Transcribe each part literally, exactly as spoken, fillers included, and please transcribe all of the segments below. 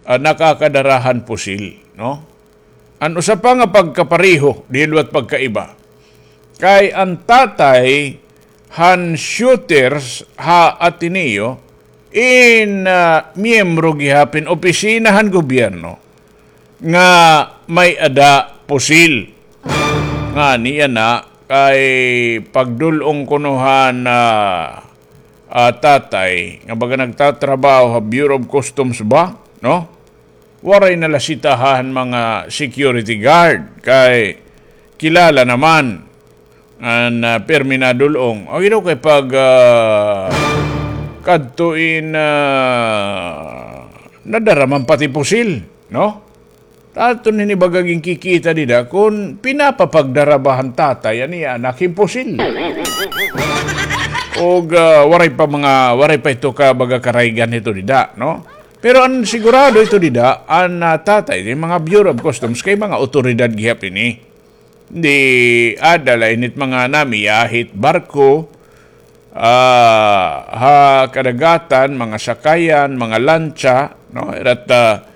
ah, nakakadara han pusil, no? An usa pa nga pagkapareho, di liwat pagkaiba. Kay an tatay han shooters ha Ateneo, in, ah, miyembro gihap hin opisina han gobyerno nga may-ada pusil. Ngani yana kay pagdul-ong kuno han, ah, ah, tatay, nga baga nagtatrabaho ha Bureau of Customs ba, no? Waray na la sitahan mga security guard, kay kilala naman an, ah, pirmi nadul-ong. Ang ino kay pag, ah, kadto in, ah, nadara man pati pusil, no? Aton ini baga ginkikita dida kon pinapapagdara ba han tatay an iya anak hin pusil. Ug, ah, waray pa mga, waray pa ito ka baga karaygan hito dida, no? Pero an sigurado ito dida, an, ah, tatay, an mga Bureau of Customs, kay mga awtoridad gihap ini. Di ada la ini it mga namiya hit barko, ah, ha kadagatan, mga sakayan, mga lantsa, no? Ira it, ah,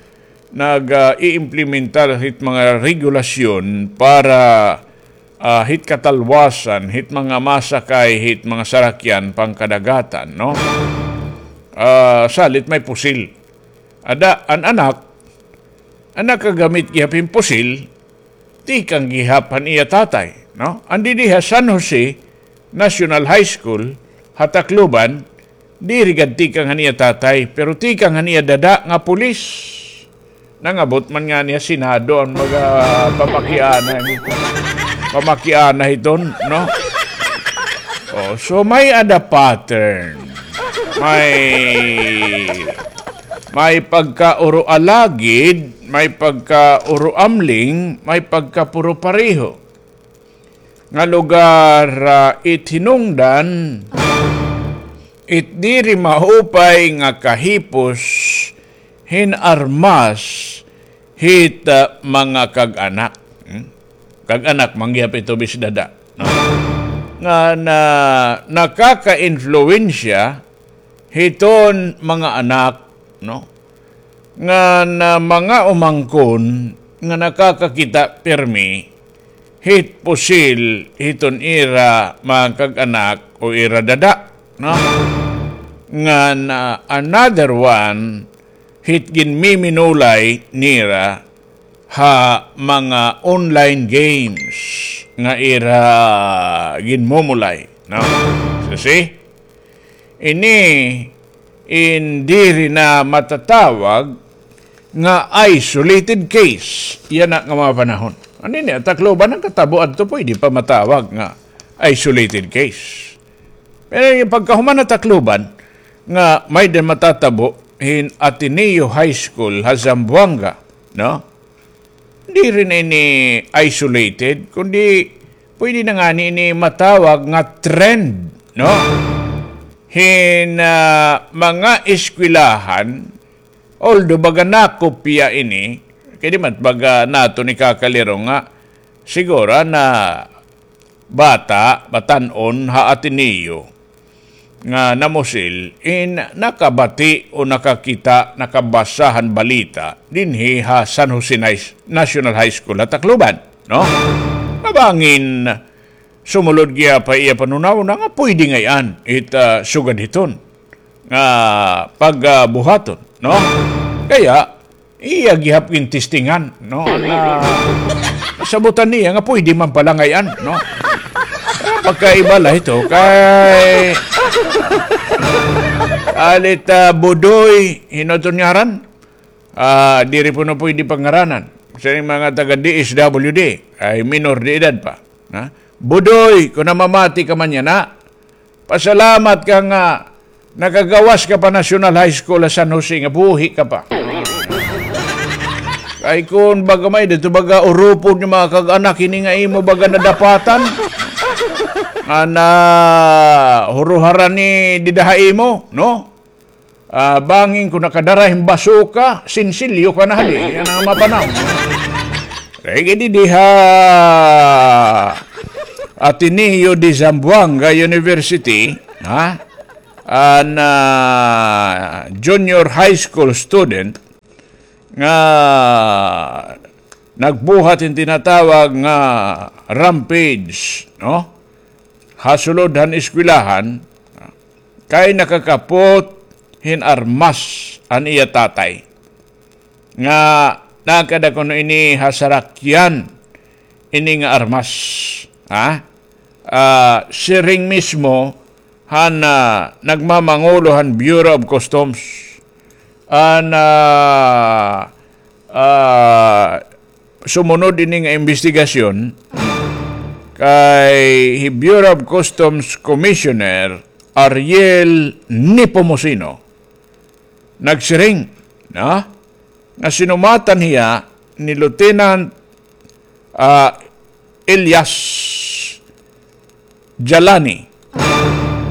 nag, ah, iimplementar hit mga regulasyon para, ah, hit katalwasan hit mga masakay hit mga sarakyan pangkadagatan, no? Ah, salit may pusil. Ada, an anak, an nakagamit gihap hin pusil, tikang gihap han iya tatay, no? An didi ha San Jose National High School, ha Tacloban, diri gad tikang han iya tatay, pero tikang han iya dada nga pulis. Nangabot man ngani ha Senado an mga pamakiana, pamakiana hiton, no? Oh, so may-ada pattern. May, may pagka-uro alagid, may pagka-uro amling, may pagka-puro pareho. Nga lugar, ah, it hinungdan, it diri maupay nga kahipos hin armas hit, ah, mga kag-anak. Hmm? Kag-anak, man gihap ito bis dada, no? Nga na, nakaka-influensya hiton mga anak, no? Nga na mga umangkon nga nakakakita pirmi hit pusil hiton ira mga kag-anak o ira dada, no? Nga na another one hit ginmiminulay nira ha mga online games nga ira ginmumulay, no? So, see? Ini in diri na matatawag nga isolated case yana nga mga panahon. Ano ini, Tacloban nakatabo adto, pwede pa matawag nga isolated case. Pero yung pagkahuman na Tacloban, nga may-ada matatabo hin Ateneo High School ha Zamboanga, no? Diri na ini isolated, kundi pwede na ngani ini matawag nga trend, no? Hin, ah, mga eskwelahan, although baga nakopya ini, kay di man baga naton ikakaliro nga siguro na bata, batan-on ha Ateneo nga namusil in nakabati o nakakita, nakabasa han balita dinhi ha San Jose Nais-, National High School ha Tacloban, no? Mabangin sumulod gihap ha iya panhunahuna nga pwede ngay-an it, ah, sugad hiton nga pagbuhaton, no? Kaya, iya gihap gintestingan, no? Na, nasabutan niya nga pwede man pala ngay-an, no? Pagkaiba la ito kay alit, ah, Budoy, hin-o iton ngaran? Ah, diri kuno pwede pangaranan. Sa mga taga D S W D, ay minor de edad pa. Ha? Budoy, kon namamati ka man yana, pasalamat ka nga nakagawas ka pa National High School ha San Jose nga buhi ka pa. Kay kon baga may-ada ito baga urupod nga mga kag-anak ini nga imo baga nadapatan. Nga nahuruharan ni dida ha imo, no? Ah, bangin kon nakadara hin basuka, sinsilyo ka na hali. Yana nga mga panahon. Kay didi ha Ateneo de Zamboanga University, ha? An, ah, junior high school student, nga nagbuhat hin tinatawag nga rampage, no? Ha sulod han eskwelahan, kay nakakapot hin armas an iya tatay. Nga nakada kuno ini ha sarakyan ini nga armas, ha? Ah, siring mismo han, ah, nagmamangulo han Bureau of Customs. An, ah, ah, sumunod ini nga imbestigasyon kay hi Bureau of Customs Commissioner Ariel Nepomuceno nagsiring, no, nga sinumatan hiya ni Lieutenant, ah, Elias Jalani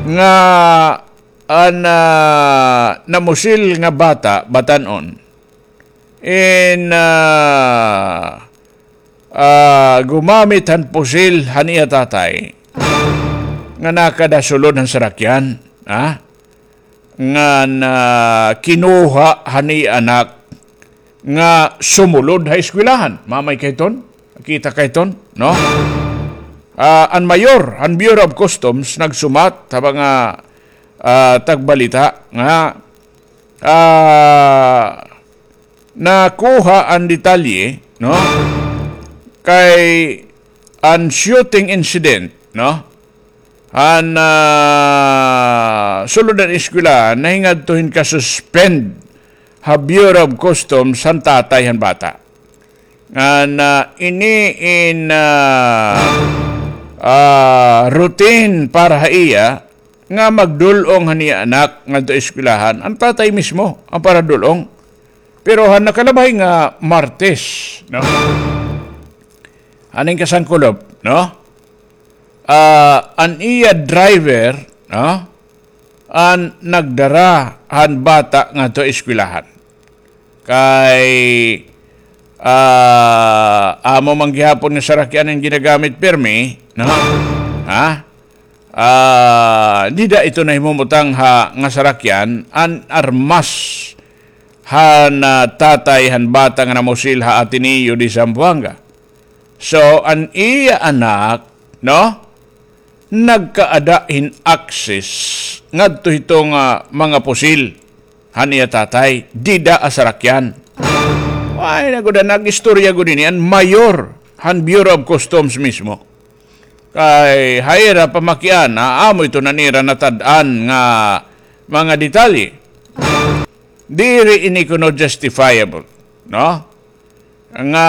nga an, ah, namusil nga bata, batan-on, in, ah, ah, gumamit han pusil han iya tatay nga nakada sulod han sarakyan, ha? Nga na kinuha han iya anak nga sumulod ha eskwelahan. Mamay kay ton, kita kay ton, no? Ah, an mayor han Bureau of Customs nagsumat ha mga, ah, tagbalita nga, ah, nakuha an detalye, no? Kay an shooting incident, no? An, ah, sulod han eskwela, nahingadto hin ka-suspend ha Bureau of Customs han tatay han bata. An, ah, ini in, ah, ah, routine para ha iya, nga magdul-ong han iya anak ngadto eskwelahan, an tatay mismo an paradul-ong. Pero han nakalabay nga Martes, no? Haning kasangkulop, no? Ah, an iya driver, no? An nagdara han bata ngadto eskwelahan. Kay, ah, amo man gihapon nga sarakyan an ginagamit pirmi, no? Ha? Ah, dida ito nahimumutang ha nga sarakyan an armas han, ah, tatay han bata nga namusil ha Ateneo de Zamboanga. So, an iya anak, no? Nagkaada hin access ngadto hito nga mga pusil han iya tatay, dida ha sarakyan. Ay, naguda, nag-istorya gud ini an mayor han Bureau of Customs mismo. Kay ha ira pamakiana, amo ito an ira natad-an nga mga detalye. Diri ini kuno justifiable, no? Nga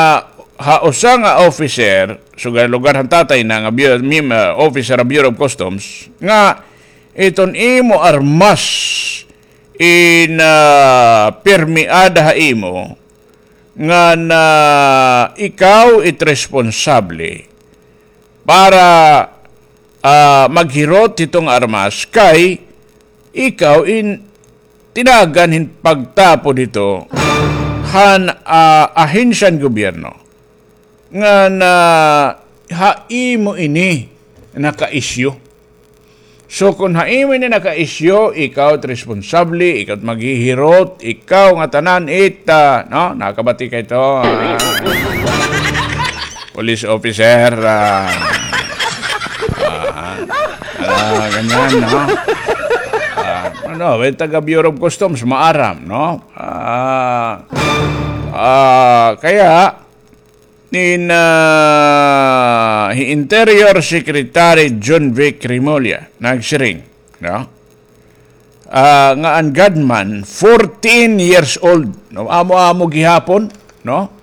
ha usa nga officer, sugad lugar han tatay na nga bu-, mim-, ah, officer ha Bureau of Customs, nga iton imo armas in, ah, pirmi ada ha imo, nga na ikaw it responsable para, ah, maghirot hito nga armas kay ikaw in tinagan hin pagtapod hito han, ah, ahensya han gobyerno nga na ha imo ini naka-issue. So, kon ha imo ini naka-issue, ikaw it responsable, ikaw it maghihirot, ikaw ngatanan it, ah, no? Nakabati kay ito, ah, police officer, ah, ah, ah, ganyan, no? Ah, ano, well, taga Bureau of Customs, maaram, no? Ah, ah, kaya, Ni, ah, hi Interior Secretary Jonvic Remulla nagsiring, no? Ah, nga an gunman, fourteen years old, no? Amo-amo gihapon, no?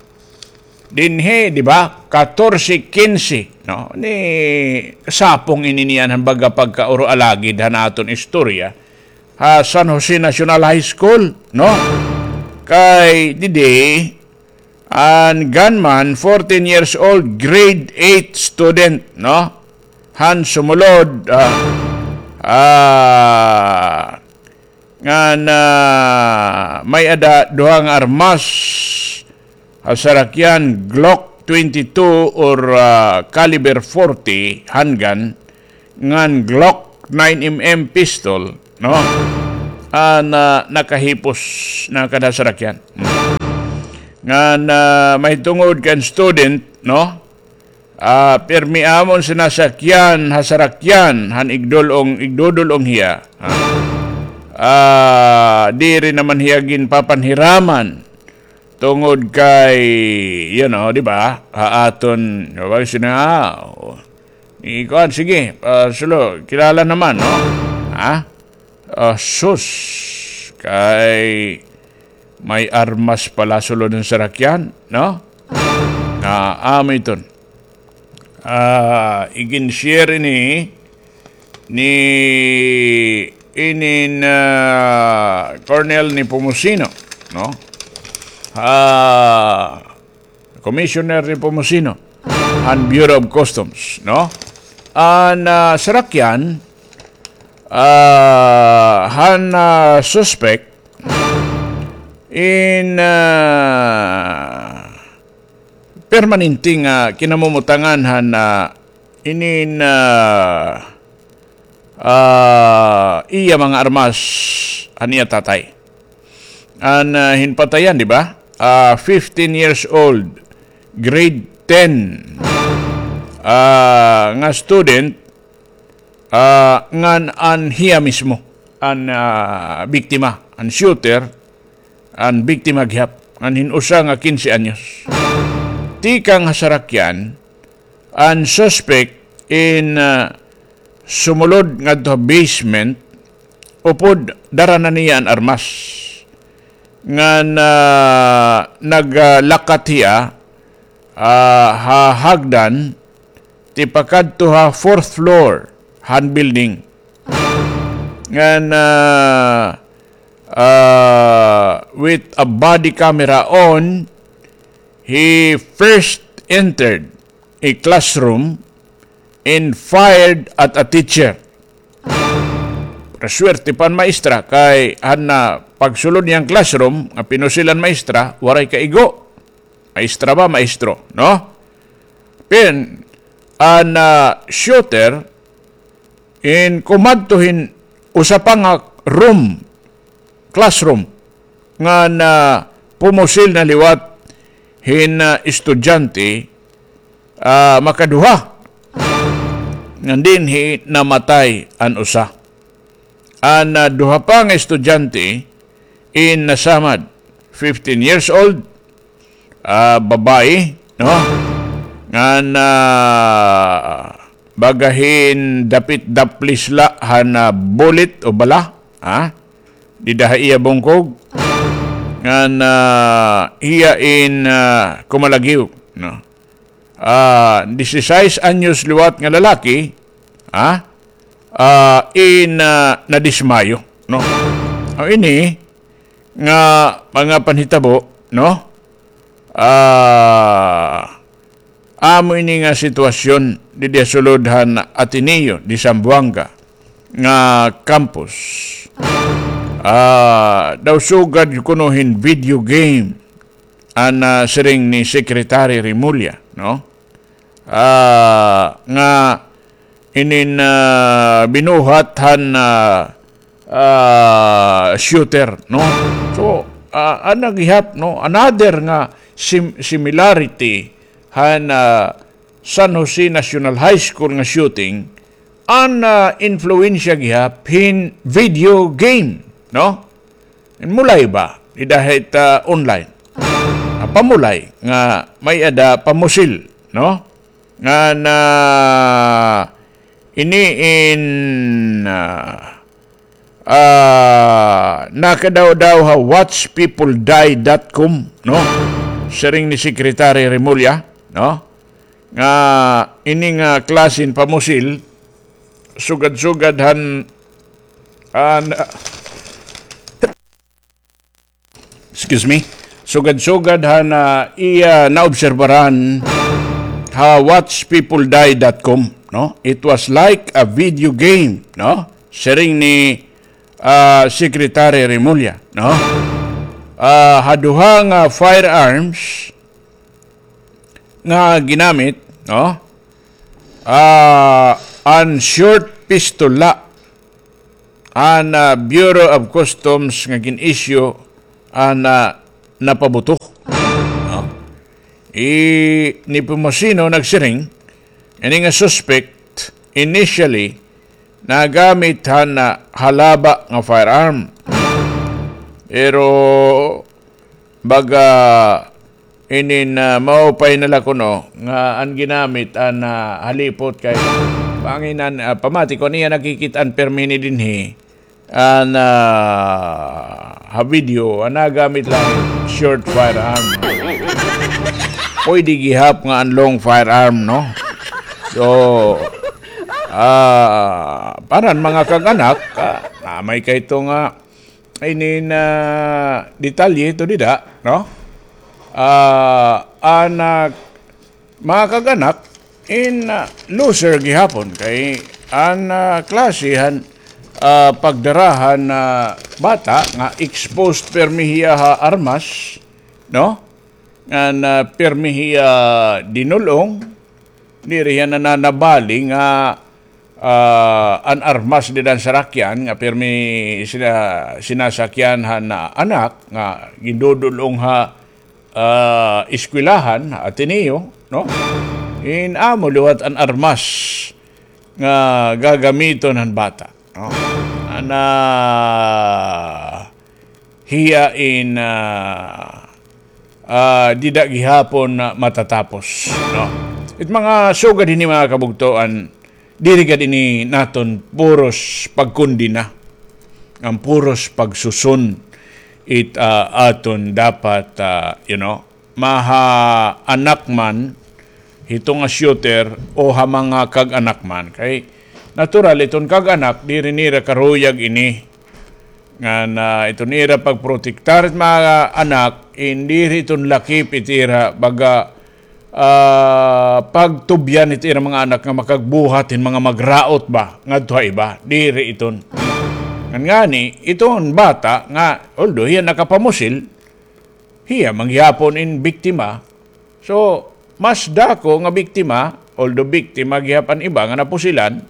Dinhi, di ba? Katorse, kinse, no? Ni, sapong ini niyan han baga pagkauro alagid han aton istorya ha San Jose National High School, no? Kay didi, An gunman, fourteen years old, grade eight student, no? Han sumulod, ah, ah, ngan, ah, may-ada duha nga armas, ha sarakyan Glock twenty-two or, ah, caliber forty handgun, ngan Glock nine M M pistol, no? An, ah, nakahipos na kada sarakyan. Hmm. Ngan, ah, mahitungod kan student, no? Ah, pirmi amon sinasakyan ha sarakyan han igdul-ong, igdudul-ong hiya. Ah. Ah, diri naman hiya ginpapanhiraman tungod kay, you know, di ba? Ha aton, di ba, sina, oh, ikuan, sige, ah, sulo, kilala naman, no? Ha? Ah, sus, kay may armas pala sulod han sarakyan, no? Ah, amo iton. Ah, igin-share ini ni, inin, ah, Colonel Nepomuceno, no? Ah, Commissioner Nepomuceno han Bureau of Customs, no? An, ah, sarakyan, ah, han, ah, suspect in, ah, permanente nga kinamumutangan han, ah, inin, ah, ah, iya mga armas han iya tatay. An, ah, ginpatayan, di ba? Ah, fifteen years old, grade ten, ah, nga student, ah, ngan an hiya mismo, an, ah, biktima, an shooter, an biktima gihap, an hin-usa nga kinse anyos. Tikang ha sarakyan, an suspect in, ah, sumulod ngadto ha basement, upod dara na niya an armas. Ngan, ah, naglakat hiya, ah, ha hagdan, tipakadto ha fourth floor han building. Ngan, ah, ah, with a body camera on, he first entered a classroom and fired at a teacher. Pero swerte pa an maestra, kay han, ah, pagsulod niya han classroom, nga pinusil an maestra, waray kaigo. Maestra ba, maestro, no? Pin, an, ah, shooter, in kumadto hin usa pa nga room, classroom, ngan pumusil na liwat hin, ah, estudyante, ah, makaduha. Ngan dinhi namatay an usa. An, ah, duha pa nga estudyante in nasamad, fifteen years old, ah, babaye, no? Ngan, ah, baga hin dapit-daplis la han, ah, bullet o bala, ha? Dida ha iya bungkog. Ngan, ah, hiya in, ah, kumalagyo, no? Ah, disisais anyos liwat nga lalaki, ha? Ah, in, ah, nadismayo, no? O ini nga mga panhitabo, no? Ah, amo ini nga sitwasyon didi ha sulod han Ateneo de Zamboanga nga campus. Ah, daw sugad kuno hin video game an, ah, siring ni Secretary Remulla, no? Ah, nga inin, ah, binuhat han, ah, ah, shooter, no? So, ah, an naghihap, no, another nga sim-, similarity han, ah, San Jose National High School nga shooting, an, ah, influensya gihap hin video game, no? Mulay ba? Dida hit, ah, online. Ah, pamulay nga may-ada pamusil, no? Ngan ini in, ah, ah, nakadaw-daw ha watch people die dot com, no? Siring ni Secretary Remulla, no? Nga ini nga klase hin pamusil, sugad-sugad han, ah, na-, excuse me, sugad-sugad han, ah, iya naobserbaran ha watch people die dot com, no? It was like a video game, no? Siring ni, ah, Secretary Remulla, no? Ah, ha duha nga firearms nga ginamit, no? Ah, an short pistol la an, ah, Bureau of Customs nga gin-issue an, ah, napabuto. I Nepomuceno nagsiring, ini nga suspect initially nagamit han, ah, halaba nga firearm. Pero baga inin, ah, maupay na la kuno nga an ginamit an, ah, halipot kay panginan, ah, pamati ko niya nakikit-an permi ni dinhi. An, ah, ha video, an nagamit la short firearm. Pwede gihap nga an long firearm, no? So, ah, para han mga kag-anak, ah, namay kay ito nga, inin, ah, detalye ito dida, no? Ah, an, ah, mga kag-anak, in, ah, loser gihapon kay an, ah, klase han, ah, pagdara han, ah, bata nga exposed permi hiya ha armas, no? Ngan, ah, permi hiya dinul-ong, diri hiya nananabali nga, ah, an armas dida han sarakyan nga permi sina-, sinasakyan han, ah, anak nga gindudul-ong ha ah, eskwelahan, ha Ateneo, no? In amo liwat an armas nga gagamiton han bata, no? An, ah, hiya in, ah, ah, dida gihapon na matatapos, no? It mga sugad hini, mga kabugtoan, diri gad ini naton puros pagkondena, ngan puros pagsuson it, ah, aton dapat, ah, you know, maha anak man hito nga shooter o ha mga kag-anak man. Kay natural, iton kag-anak, diri nira karuyag ini. Ngan, ah, iton ira pagprotektar it mga anak, in diri iton lakip it ira, baga, ah, pagtubyan it ira mga anak nga makagbuhat hin mga magraot ba ngadto ha iba. Diri iton. Ngan ngani, iton bata nga, although hiya nakapamusil, hiya man gihapon in biktima. So, mas dako nga biktima, although biktima gihap an iba nga napusilan,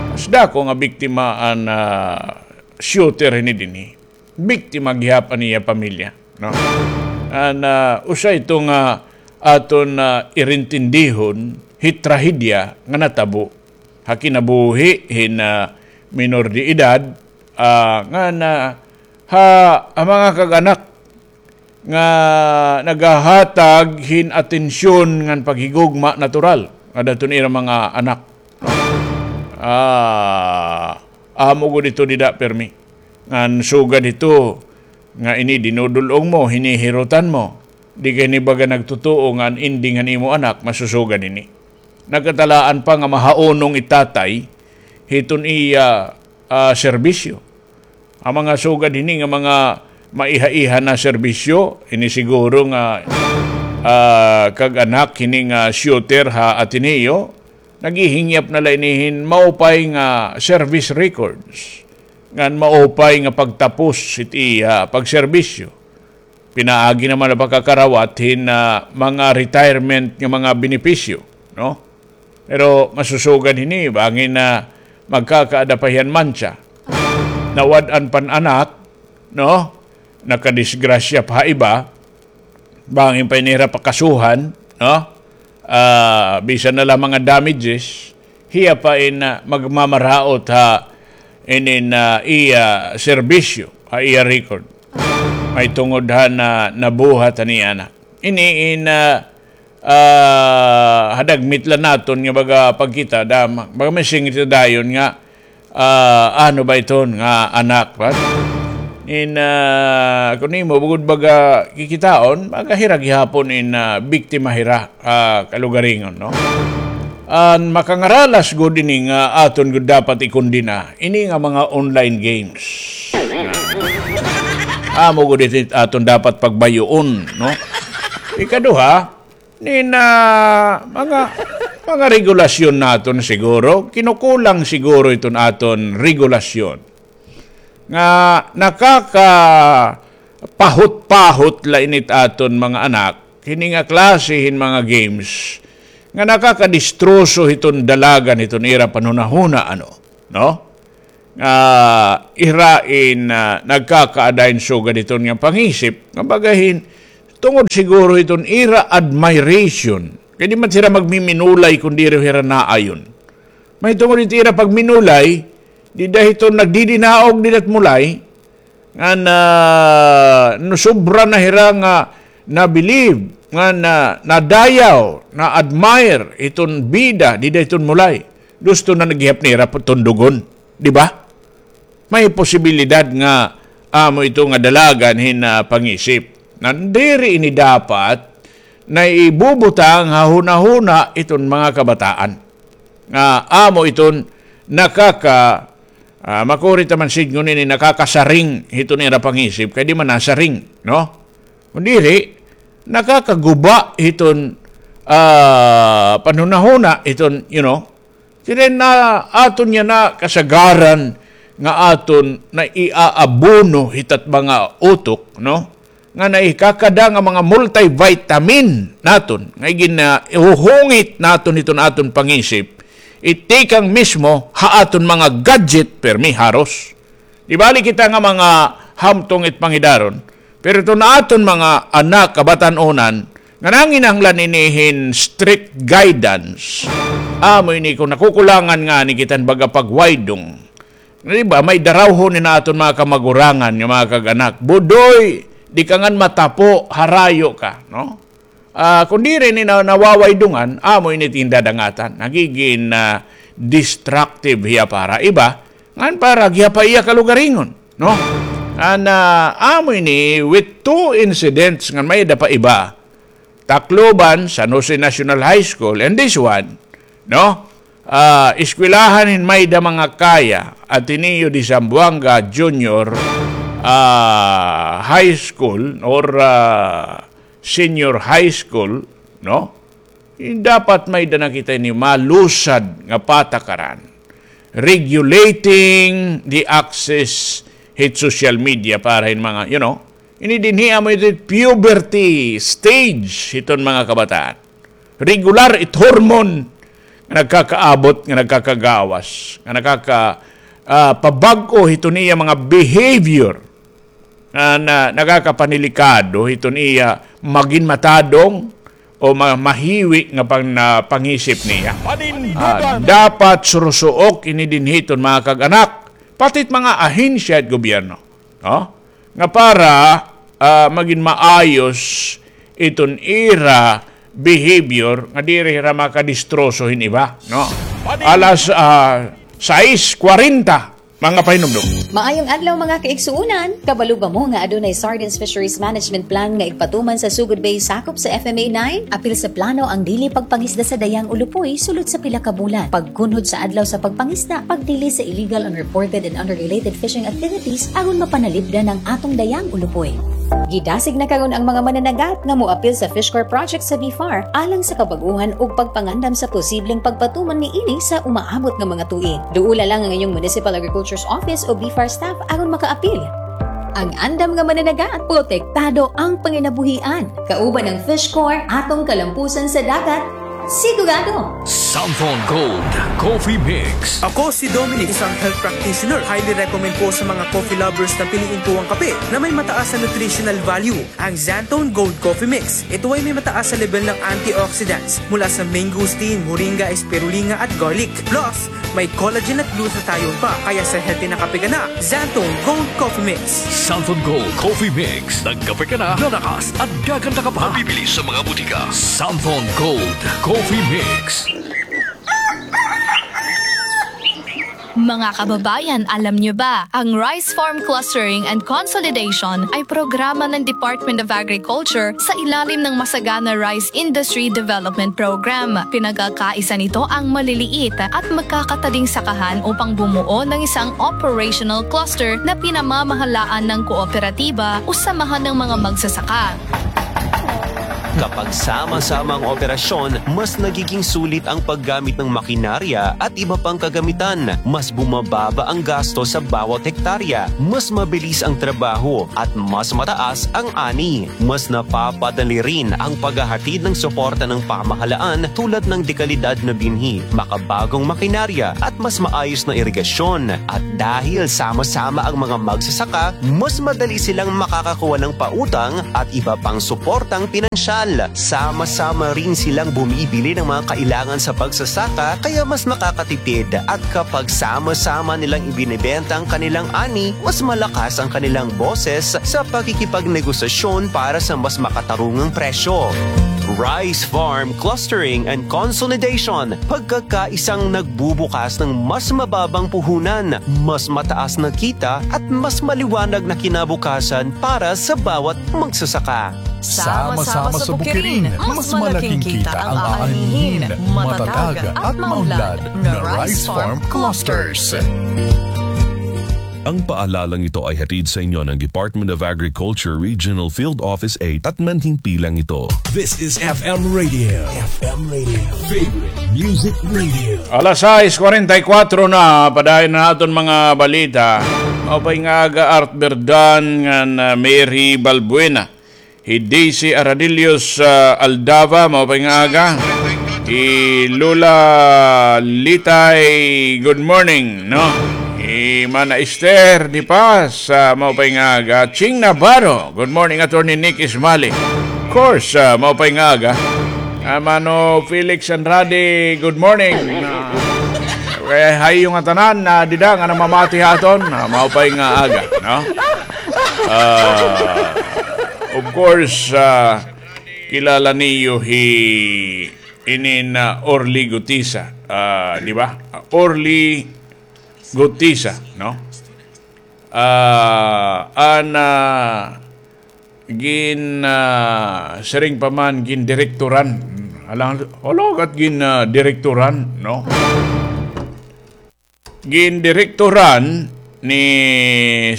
mas dako nga biktima an, ah, shooter hini dinhi. Biktima gihap an iya pamilya, no? An, ah, usa ito nga aton, ah, irintindihon hit trahedya nga natabo ha kinabuhi hin, ah, minor de edad, ah, nga na, ha, ha mga kag-anak nga nagahatag hin atensyon ngan paghigugma natural ngadaton ira mga anak. Ah, amo gud ito dida permi. Ngan sugad ito nga ini dinudul-ong mo, hinihirutan mo. Di kay ini baga nagtutuo nga an ending han imo anak masusugad ini. Nagkatalaan pa nga mahaunong it tatay hiton iya, ah, serbisyo. An mga sugad hini nga mga maiha-iha na serbisyo, ini siguro nga, ah, kag-anak hini nga shooter ha Ateneo, naghihingyap na la ini hin maupay nga service records, ngan maupay nga pagtapos hit iya pagserbisyo. Pinaagi naman an pagkakarawat hin, ah, mga retirement nga mga benepisyo, no? Pero masusugad hini, bangin na magkakaada pa hiya hin mantsa. Nawad-an pa an anak, no? Nakadisgrasya pa ha iba, bangin pa ini hira pakasuhan, no? Ah, bisan na la mga damages, hiya pa in, ah, magmamaraot ha inin, ah, iya serbisyo, ha iya record. Mahitungod han, ah, nabuhat han iya anak. Ini in, ah, ah, ha dagmit la naton nga baga pagkita, da, baga masingit dayon nga, ah, ano ba iton nga anak, ba? In, ah, kun imo bugod baga kikitaon, baga hira gihapon in, ah, biktima hira, ah, kalugaringon, no? An makangaralas gud ini nga aton gud dapat ikondena, ini nga mga online games. Amo gud ini aton dapat pagbayoon, no? Ikaduha, nin, ah, mga, mga regulasyon naton siguro, kinukulang siguro iton aton regulasyon nga nakakapahut-pahut la ini it aton mga anak, hini nga klase hin mga games nga nakakadistroso hiton dalagan hiton ira panhunahuna, ano, no? Nga ira in, ah, nagkakaada hin sugad hiton nga pangisip nga baga hin Tungod siguro hiton ira admiration. Kay di man sira magmiminulay kon diri hira naayon. Mahitungod hit ira pagminulay, dida hiton nagdidinaog dida hit mulay, ngan, ah, nasobra na hira nga na-believe, ngan na-, nadayaw, na-admire hiton bida dida hiton mulay. Gusto na gihap nira tundugon, di ba? May posibilidad nga amo ito nga dalagan hin, ah, pangisip. Ngan diri ini dapat naibubutang ha hunahuna iton mga kabataan. Nga amo iton nakaka-, ah, makuri ta man sidngon ini, nakakasaring hiton ira pangisip, kay di man nasaring, no? Kon diri, nakakaguba hiton, ah, panhunahuna hiton, you know, Siring na aton yana kasagaran nga aton naiaabono hit at mga utok, no? Nga naikakada nga mga multivitamin naton, nga igin-, ah, ihuhungit naton hiton aton pangisip, itikang mismo ha aton mga gadget permi haros. Di bali kita nga mga hamtong it pangidaron, pero iton aton mga anak, kabatan-onan, nga nanginahanglan ini hin strict guidance, amo ini kon nakukulangan ngani kita hin baga pagwaydong. Di ba, may darawhon ini aton mga kamagurangan nga mga kag-anak. Budoy, di ka ngan matapo, harayo ka, no? Ah, kon diri ini na, nawawaydongan, amo ini it ginadangatan. Nagigin, ah, destructive hiya para iba, ngan para gihap ha iya kalugaringon, no? Ngan, ah, amo ini with two incidents ngan may-ada pa iba. Tacloban, San Jose National High School, and this one, no? Ah, eskwelahan hin may-ada mga kaya, Ateneo de Zamboanga Junior, ah, High School or, ah, Senior High School, no? Dapat may-ada na kita ini malusad nga patakaran. Regulating the access hit social media para hin mga, you know, ini dinhi amo ito puberty stage hiton mga kabataan. Regular it hormone nga nagkakaabot, nga nagkakagawas, nga nakaka-, ah, pabag-o hiton iya mga behavior. Na, na, nakakapanilikado hiton iya magin matadong o ma-, mahiwi nga pang-, na pangisip niya. Ah, dapat surusuok ini dinhi hiton mga kag-anak, pati it mga ahensya hit gobyerno, no? Nga para, ah, magin maayos iton ira behavior nga diri hira makadistroso hin iba, no? Alas, ah, sais kwarenta, mga pahinumdom. Maayong adlaw, mga kaigsuonan! Kabalo ba mo nga adunay Sardines Fisheries Management Plan nga igpatuman sa Sugod Bay sakop sa F M A nine? Apil sa plano ang dili pagpangisda sa Dayang Ulupoy sulod sa pila ka bulan, pagkunhod sa adlaw sa pagpangisda, pagdili sa illegal, unreported, and unregulated fishing activities aron mapanalipdan ang atong Dayang Ulupoy. Gidasig na karon ang mga mananagat nga moapil sa Fish Corps Project sa BFAR alang sa kabag-ohan ug pagpangandam sa posibleng pagpatuman niini sa umaabot nga mga tuig. Duola lang ang inyong Municipal Agriculture's Office o BFAR staff aron makaapil. Ang andam nga mananagat, protektado ang panginabuhian. Kauban ang Fish Corps, atong kalampusan sa dagat, sigurado! Santhon Gold Coffee Mix. Ako si Dominic, isang health practitioner. Highly recommend po sa mga coffee lovers na piliin po ang kape na may mataas na nutritional value, ang Xanthone Gold Coffee Mix. Ito ay may mataas na level ng antioxidants mula sa mangosteen, moringa, spirulina at garlic. Plus, may collagen at glutathione pa, kaya sa healthy na kape ka na, Xanthone Gold Coffee Mix. Santhon Gold Coffee Mix. Nagkape ka na, lalakas at gaganda ka pa. Mabibili sa mga butika. Santhon Gold Coffee Mix. Mga kababayan, alam niyo ba, ang Rice Farm Clustering and Consolidation ay programa ng Department of Agriculture sa ilalim ng Masagana Rice Industry Development Program. Pinagkakaisa nito ang maliliit at magkakatading sakahan upang bumuo ng isang operational cluster na pinamamahalaan ng kooperatiba o samahan ng mga magsasaka. Kapag sama-sama ang operasyon, mas nagiging sulit ang paggamit ng makinarya at iba pang kagamitan. Mas bumababa ang gasto sa bawat hektarya. Mas mabilis ang trabaho at mas mataas ang ani. Mas napapadali rin ang paghahatid ng suporta ng pamahalaan tulad ng dekalidad na binhi, makabagong makinarya at mas maayos na irigasyon. At dahil sama-sama ang mga magsasaka, mas madali silang makakakuha ng pautang at iba pang suportang pinansyal. Sama-sama rin silang bumibili ng mga kailangan sa pagsasaka, kaya mas nakakatipid. At kapag sama-sama nilang ibinebenta ang kanilang ani, mas malakas ang kanilang boses sa pakikipagnegosasyon para sa mas makatarungang presyo. Rice Farm Clustering and Consolidation, pagkakaisang nagbubukas ng mas mababang puhunan, mas mataas na kita at mas maliwanag na kinabukasan para sa bawat magsasaka. Sama-sama sa Bukirin, mas malaking kita ang aanihin, matatag at maunlad na Rice Farm Clusters. Ang paalalang ito ay hatid sa inyo ng Department of Agriculture Regional Field Office eight at manhimpilang ito. This is F M Radio. F M Radio. Favorite Music Radio. Alas sais kuwarenta y kuwatro na, padayon na aton mga balita. Maupay nga aga, Art Berdan ngan, ah, Mary Balbuena. Hi Daisy Aradillos, ah, Aldava, maupay nga aga. Hi Lola Litay, good morning, no? Hi Mana Esther de Paz, ah, maupay nga aga. Ching Navarro, good morning, Attorney Nick Ismali. Of course, ah, maupay nga aga. Ah, Mano Felix Andrade, good morning. Ah, kay hayo nga tanan na dida nga namamati ha aton, ah, maupay nga aga, no? Ah, of course, ah, kilala niyo hi inin, ah, Orly Gutisa, ah, di ba? Orly Gutisa, no? Ah, an, ah, gin, ah, siring pa man, gindirektoran. Alang, ologat gin, ah, direktoran, no? Gindirektoran ni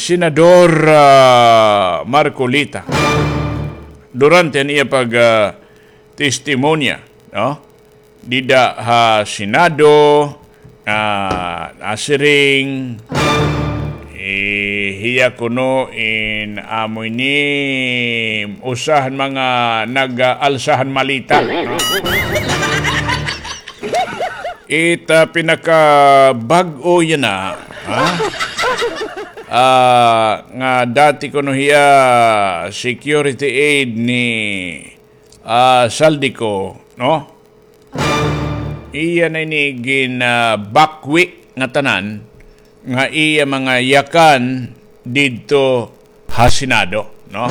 Senador, ah, Marcoleta durante an iya pag, ah, testimonya, no? Dida ha Senado, ah, nasiring, eh, hiya kuno in amo ini usa han mga nag-, ah, alsa han maleta, no? It, ah, pinakabag-o yana, ha? Ah, nga dati kuno hiya security aide ni, ah, Zaldy Co, no? Iya na ini gin, ah, bakwi ngatanan nga iya mga yakan didto ha Senado, no?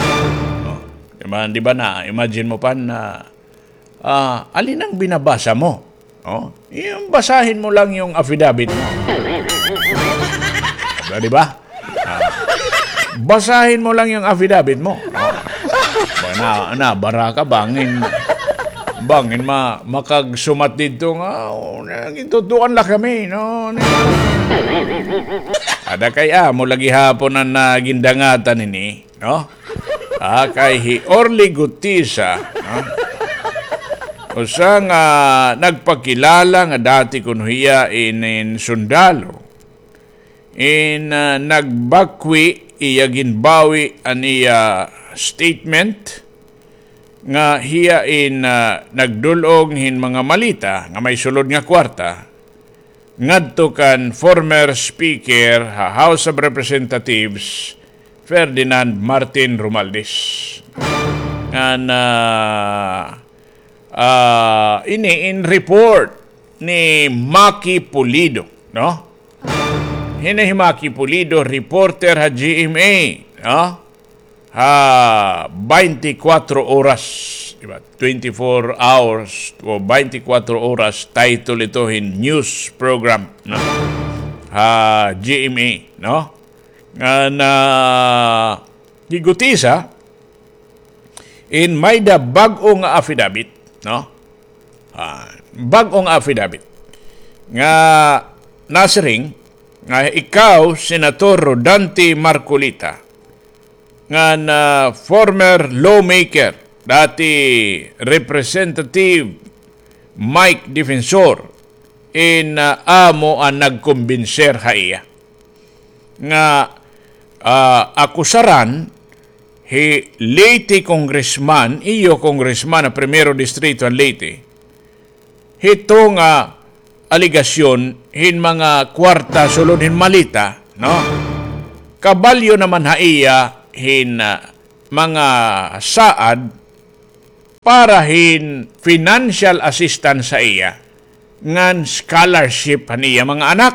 No? Di ba, di ba na, imagine mo pa na, ah, alin ang binabasa mo? No? Yung basahin mo lang yung affidavit mo. Diba, di ba? Ah, basahin mo lang yung affidavit mo. No? Ba na, na, baraka, bangin, bangin ma-, makagsumat didto nga, oh, nagtutuan la kami, no? Ada kay amo la gihapon an, ah, gindangatan ini, no? Ah, kay hi Orly Gutisa, no? Usa nga nagpakilala nga dati kuno hiya inin sundalo. In, ah, nagbakwi, iya ginbawi an iya statement nga hiya in, ah, nagdul-ong hin mga maleta nga may sulod nga kwarta ngadto kan former Speaker ha House of Representatives, Ferdinand Martin Romualdez. Ngan, ah, ah, ini in report ni Maki Pulido, no? Hini hi Maki Pulido, reporter ha G M A, no? Ha baynte kwatro oras, di ba? Twenty-four hours o baynte kwatro oras, title ito hin news program, no? Ha G M A, no? Ngan, ah, hi Gutisa, in may-ada bag-o nga affidavit, no? Ah, bag-o nga affidavit nga nasiring nga ikaw, Senator Rodante Marcoleta, ngan former lawmaker, dati Representative Mike Defensor, in, ah, amo an nagkumbinser ha iya nga, ah, akusaran hi Leyte congressman, iyo congressman ha Primero Distrito han Leyte, hito nga alegasyon hin mga kwarta sulod hin maleta, no? Kabalyo naman ha iya hin, ah, mga saad para hin financial assistance sa iya ngan scholarship han iya mga anak,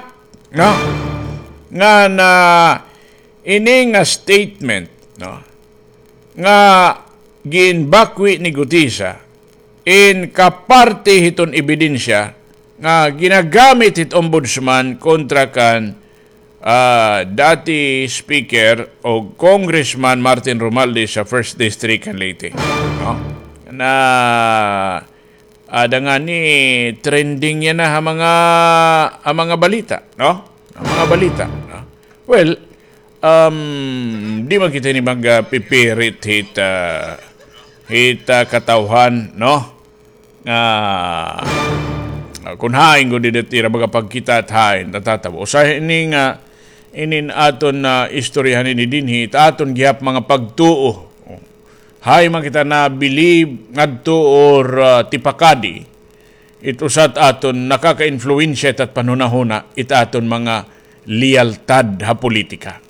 no? Ngan, ah, ini nga statement, no, nga ginbakwi ni Gutisa in kaparte hiton ebidensya nga ginagamit hit ombudsman kontra kan, ah, dati Speaker o Congressman Martin Romualdez sa First District kan Leyte. No? Na, ada ngani trending yana ha mga, ha mga balita, no? Ha mga balita, no? Well, um, di man kita ini magpipirit hit, ah, hit, ah, katawhan, no? Ah, kun hain gud it ira baga pagkita it hain natatabo. Usa ini nga inin aton, ah, istoryahan ini dinhi, it aton gihap mga pagtuo. Hain man kita nabilib ngadto or, ah, tipakadi, it usa it aton nakaka-influensya it at panhunahuna, it aton mga liyaltad ha politika.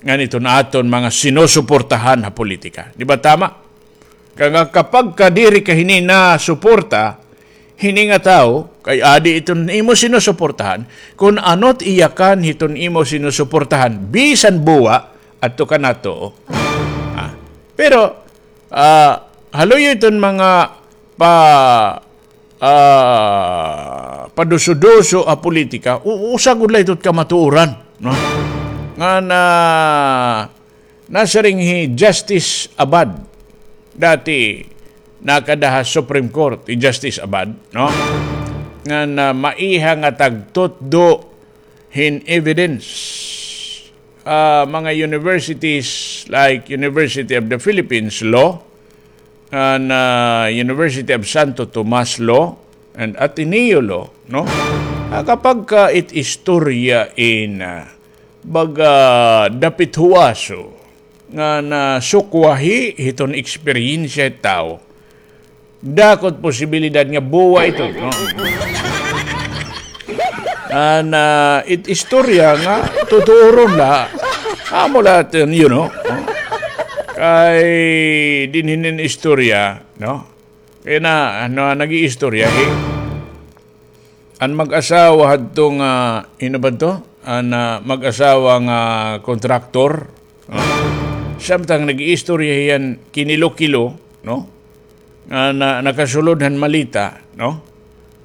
Ngan iton aton mga sinusuportahan ha politika. Di ba tama? Kay nga kapag ka diri ka hini nasuporta, hini nga tawo, kay adi iton imo sinusuportahan, kun ano it iyakan hiton imo sinusuportahan, bisan buwa, adto ka nato. Ah, pero, ah, haluyo iton mga pa, ah, paduso-duso ha politika, u-, usa gud la ito it kamatuoran, no? Ngan, ah, nasiring hi Justice Abad, dati nakada ha Supreme Court, hi Justice Abad, no? Ngan, ah, maiha nga tagtutdo hin evidence, ah, mga universities like University of the Philippines Law, and, ah, University of Santo Tomas Law, and Ateneo Law, no? Ah, kapag ka it istorya in, ah, baga dapit huwaso nga nasukwahi hiton eksperyensya it tawo, dako it posibilidad nga buwa ito, no? An, ah, it istorya nga tutuoron la, amo la it, you know, no? Kay dinhi inin istorya, no? Kay na, ano, nag-iistorya, eh. An mag-asawa hadto nga, hin-o ba to? An, ah, mag-asawa nga kontraktor. Ah. Samtang nag-iistorya hiya hin kilo-kilo, no? Nga na, nakasulod han maleta, no?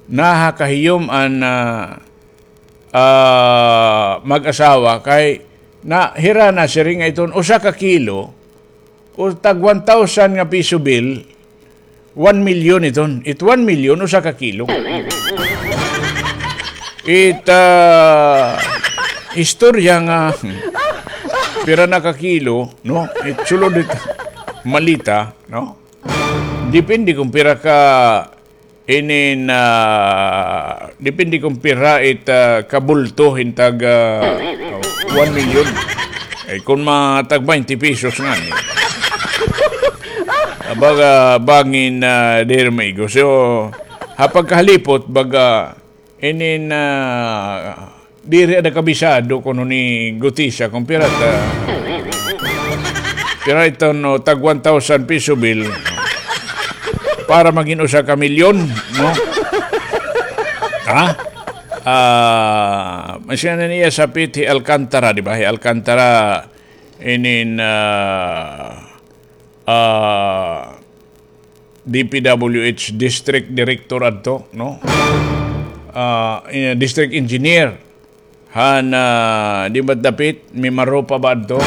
Nahakahiyom an, ah, ah, mag-asawa kay na, hira nasiring nga iton usa ka kilo, o tag one thousand nga piso bill, one million iton. It one million, usa ka kilo. It, ah, istorya nga, pira na ka kilo, no? It sulod it maleta, no? Depende kung pira ka inin, ah, depende kung pira it, ah, kabulto hin tag, ah, one million. Ay, kun mga tag twenty pesos ngani. Ah, baga bangin, ah, diri maigo. So, ha pagkahalipot, baga, inin, ah, diri ada kabisado kuno ni Gutisa kung pira ta, pira ito, no, tag one thousand piso bill para magin usa ka milyon, no? Ha? Ah, masya na niya sapit hi Alcantara, di ba? Hi Alcantara, inin, ah, ah, D P W H district director adto, no? Ah, eh, district engineer. Han, ah, di ba dapit, Mimaropa ba adto?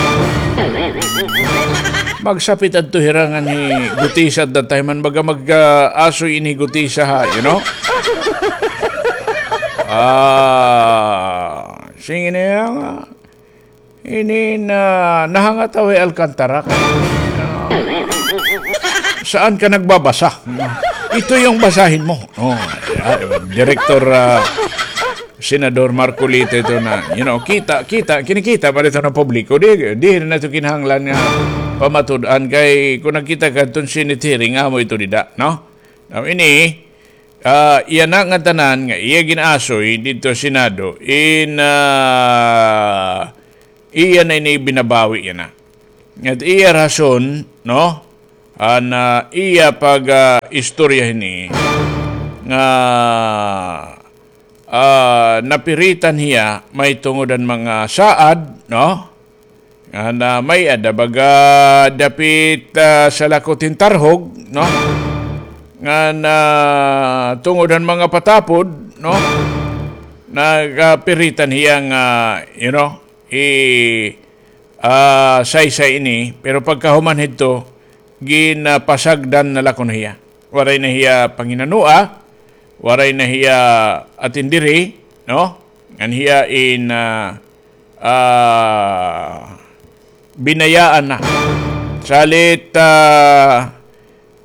Magsapit adto hira ngan hi Gutisa at that time, man baga mag, ah, asoy ini Gutisa ha, you know? Ah, sige na yan, ah. Ini na, nahangataw hi Alcantara. Saan ka nagbabasa? Ito yung basahin mo. Oh, ah, Director, ah, Senador Marcoleta ito na, you know, kita, kita, kinikita pa ito ng publiko. Di, di na ito kinahanglan nga pamatud-an kay kung nakita ka itong Senate hearing, amo ito dida, no? Now, ini, ah, iya na nga tanan nga iya gin-asoy dito sa Senado, in, ah, iya na ini binabawi yana. At iya rason, no? An, ah, iya pag, ah, istorya hini nga, ah, napiritan hiya may tungod an mga saad, no? Ngan, ah, may-ada baga dapit, ah, sa lakot hin tarhog, no? Ngan, ah, tungod han mga patapod, no? Nagapiritan hiya nga, you know, i, ah, saysay ini, pero pagkahuman hito, ginapasagdan na la kuno hiya. Waray na hiya panginanoa, waray na hiya atindiri, no? Ngan hiya in, ah, ah, binayaan na. Salit, ah,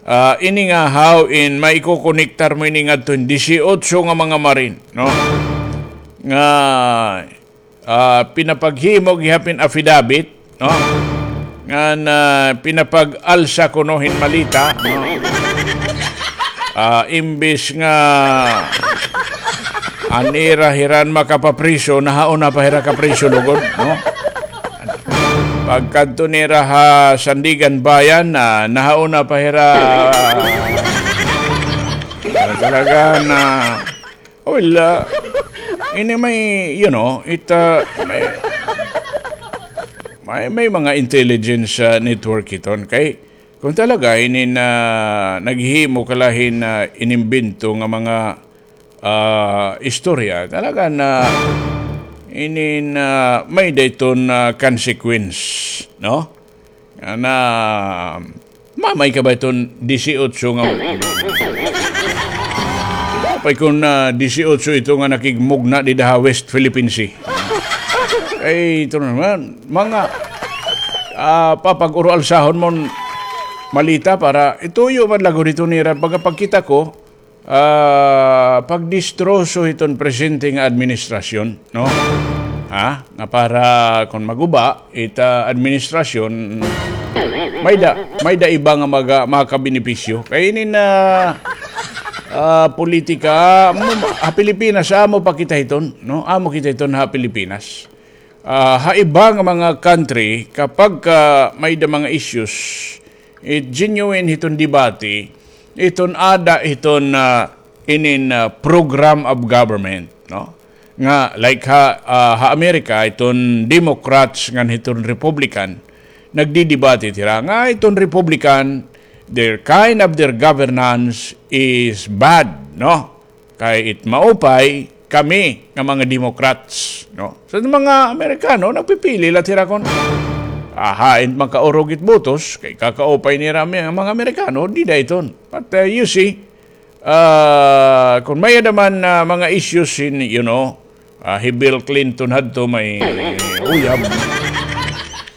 ah, ini nga haw in maikokonektar mo ini ngadto hin disiotso nga mga marin, no? Nga, ah, pinapaghimo gihap hin affidavit, no? Ngan, ah, pinapag-alsa kuno hin malita, no? Ah, imbis nga an ira hira an makapapriso, nahauna pa hira kapriso lugod, no? Pagkadto nira ha Sandiganbayan, ah, nahauna pa hira, ah, talaga na, well, ah, ini may, you know, it, ah, may, may, may mga intelligence, ah, network iton. Kay, kung talaga, ini na naghihimo ka la hin, ah, inimbento nga mga, ah, istorya, talaga na, ini na may-ada iton, ah, consequence, no? Nga na, mamay ka ba iton disiotso nga, apay kon, ah, disiotso ito nga nakigmugna dida ha West Philippine Sea. Ay, ito naman, mga, ah, papag-uro-alsahon mon malita para ituyo man lagod ito nira. Pagkapagkita ko, ah, pagdistroso hiton presente nga administrasyon, no? Ha? Nga para kon maguba, ita administrasyon, may-ada, may-ada iba nga maga-, makabenepisyo. Kay ini na, ah, politika, mo, ha Pilipinas, amo pa kita hiton, no? Amo kita hiton ha Pilipinas. Ah, ha iba nga mga country, kapag ka may-ada mga issues, it genuine hiton debate, iton aada hiton, ah, inin, ah, program of government, no? Nga, like ha, ah, ha Amerika, iton Democrats ngan hiton Republican, nagdidebate hira nga iton Republican, their kind of their governance is bad, no? Kay it maupay kami nga mga Democrats, no? Sa mga Amerikano, nagpipili la hira kon, ah, hain makaurog it botos, kay kakaupay nira mi-, mga Amerikano, dida iton. But, uh, you see, uh, kon may-ada man, uh, mga issues in, you know, uh, hi Bill Clinton hadto may uyab.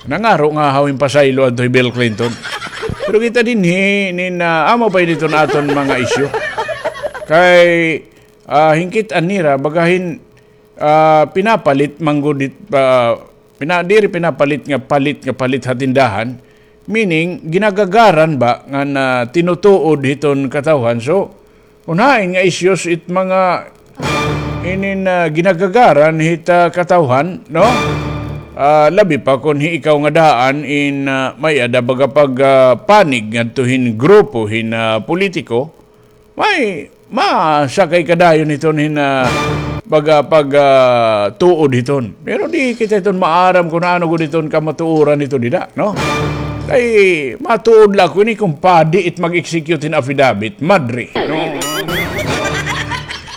Nangaro nga haw hin pasaylo adto hi Bill Clinton. Pero kita dinhi, nin, ah, amo pa ini iton aton mga isyu. Kay, ah, hingkit-an nira, baga hin, ah, pinapalit man gud it, ah, pina-, diri pinapalit nga palit nga palit ha tindahan. Meaning, ginagagaran ba nga na tinutuod hiton katawhan. So, kon hain nga issues it mga inin, ah, ginagagaran hit, ah, katawhan, no? Ah, labi pa kon hi ikaw nga daan in, ah, may-ada baga pag, ah, panig ngadto hin grupo hin, ah, politiko, may masakay ka dayon hiton hin, ah, baga pag, ah, tuod hiton. Pero di kita hiton maaram kon ano gud hiton kamatuoran hito dida, no? Kay matuod la ako ini kon padi it mag-execute hin affidavit, madre, no?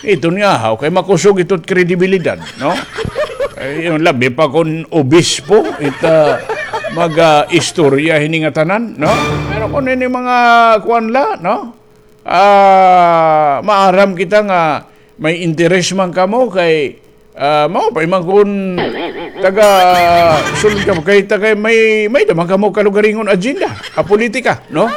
Iton nga haw, kay makusog ito it kredibilidad, no? Ay, yung labi pa kon obispo, ita mag, ah, istorya hini nga tanan, no? Pero kon ini mga kuan la, no? Ah, maaram kita nga may interes man kamo kay, ah, maupay man kon taga sulod kamo kay, taga may, may-ada man kamo kalugaringon agenda, ah, politika, no?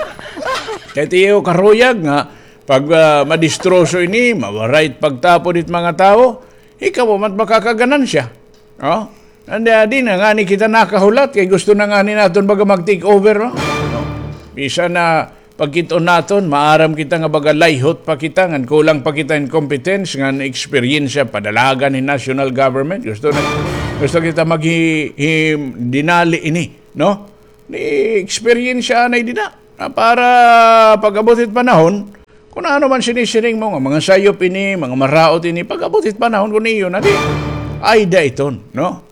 Kay tiyo karuyag nga, pag, ah, madistroso ini, mawaray it pagtapod it mga tawo, ikaw man makakaganansya. Oh? Andi, di na ngani kita nakahulat, kay gusto na ngani naton baga mag-take over, no? No? Bisan na pagkit-on naton, maaram kita nga baga layhot pa kita, ngan kulang pa kita in competence, ngan eksperyensya, padalagan hin national government. Gusto na, gusto kita maghi-, him-, dinali ini, no? Ni eksperyensya anay dida. Ah, para pag-abot it panahon, kun ano man sinisiring mo nga mga sayop ini, mga maraot ini, pag-abot it panahon kun iyo na di, ay da iton, no?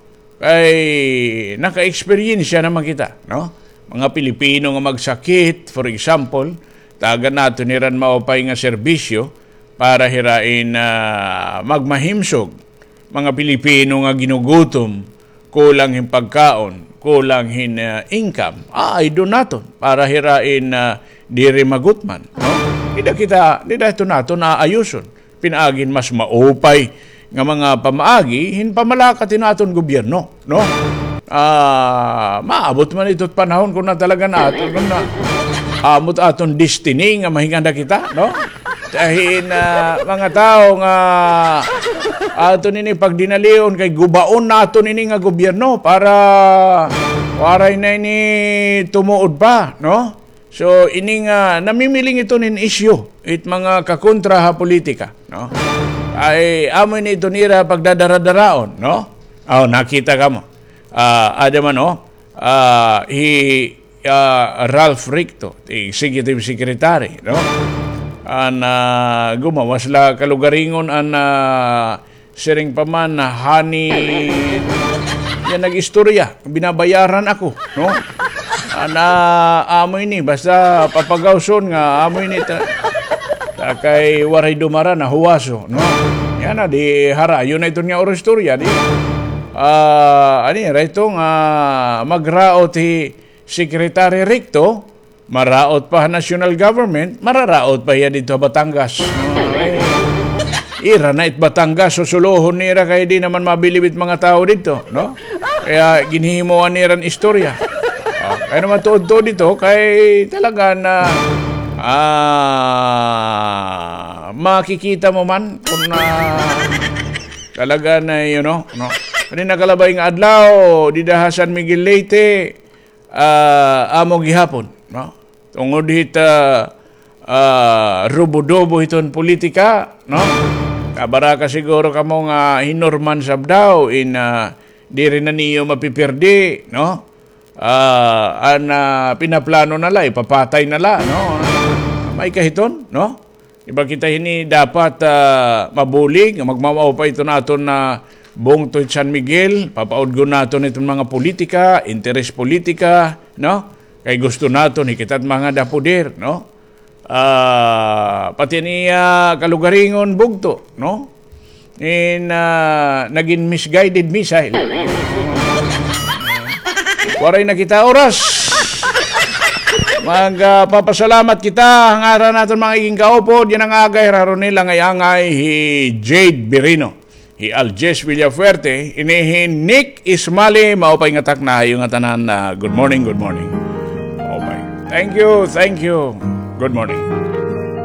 Kay naka-eksperyensya naman kita, no? Mga Pilipino nga magsakit, for example, tagan naton hiran maupay nga serbisyo para hira in, ah, magmahimsog. Mga Pilipino nga ginugutom, kulang hin pagkaon, kulang hin, ah, income. Ah, ay do naton para hira in, ah, diri magutman, no? Dida kita, dida ito naton aayuson. Pinaagi hin mas maupay nga mga pamaagi hin pamalakat hin aton gobyerno, no? Ah, maabot man ito panahon kun na talaga naton, kun na amo it aton destiny nga mahinganda kita, no? Kay hin, ah, mga tawo nga aton ini pagdinalion kay gubaon naton ini nga gobyerno para waray na ini tumuod pa, no? So, ini nga namimiling ito nin isyu, it mga kakontra ha politika, no? Ay, amo ini ito nira pagdadaradaraon, no? Oh, nakita kamo. Ah, ada man, oh. Ah, hi, ah, Ralph Ricto, executive secretary, no? An, ah, gumawas la kalugaringon an, ah, siring pa man, honey, yan nag-istorya, binabayaran ako, no? An, ah, amo ini, basta papagawson nga, amo ini, ta-, ta kay waray dumara, nahuwaso, no? Yana, di harayo na ito nga oro istorya, di. Ah, ani, rayto nga magraot hi Secretary Ricto, maraot pa ha national government, mararaot pa hiya didto ha Batangas. Ay, ira na it Batangas, susulohon nira kay di naman mabilib it mga tawo didto, no? Kaya ginhihimuan nira hin istorya. Oh, kay naman tuod-tuod ito, kay talaga na, ah, makikita mo man kung na talaga na, you know, no? Kani nakalabay nga adlaw, dida ha San Miguel Leyte, ah, amo gihapon, no? Tungod hit, ah, ah, rubo-dubo hiton politika, no? Kabaraka siguro kamo nga hinorman sab daw in, ah, diri na niyo mapipirdi, no? Ah, an, ah, pinaplano na la, ipapatay na la, no? May kahiton, no? Iba kita hini dapat, ah, mabulig, magmamaupay iton aton nga bungto hit San Miguel, papaudgon naton iton mga politika, interes politika, no? Kay gusto naton, hikita it mga dapuder, no? Ah, pati niya kalugaringon bugto, no? In, ah, nagin misguided missile. Waray na kita oras. Mag, ah, papasalamat kita. Ngaran naton mga iging kaupod, yan an agay, Raronel, angay-angay, hi Jade Birino, hi Aljes Villafuerte, ini hi Nick Ismali, maupay nga takna ha iyo nga tanan, ah, good morning, good morning. Maupay. Thank you, thank you. Good morning.